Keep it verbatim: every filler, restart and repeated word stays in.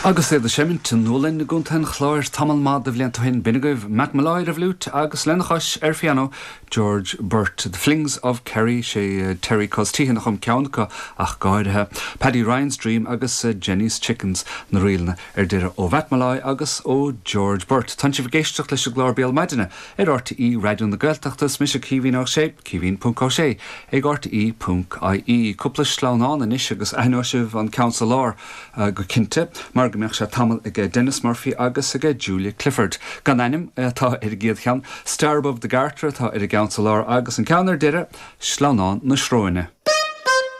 Agus iad ag seimint i nDúlainn i gContae an Chláir tamall maith de bhlianta ó shin b'in agaibh Matt Molloy ar an bhfliúit agus lena chois ar phianó George Burt. The Flings of Kerry sé Terry Cos Teahan a chum ceann acu ach go háirithe. Paddy Ryan's Dream agus uh, Jenny's Chickens na ríleanna ar deireadh ó Mhatt Molloy agus ó George Burt. Tá sibh ag éisteacht leis an gclár Béal Maidine ar RTÉ Raidió na Gaeltachta is mise Caoimhín Ó Sé Caoimhín ponc Ó Sé ag RTÉ ponc IE. Cúpla sleamhnán anois agus aithneoidh sibh an ceann sa lár uh, go cinnte mar go mbeadh sé tamall ag Dennis Murphy agus ag Julia Clifford. Gan ainm atá ar an gcéad cheann, Star Above the Garter atá ar an gceann sa lár agus an ceann ar deireadh sleamhnán na sróine.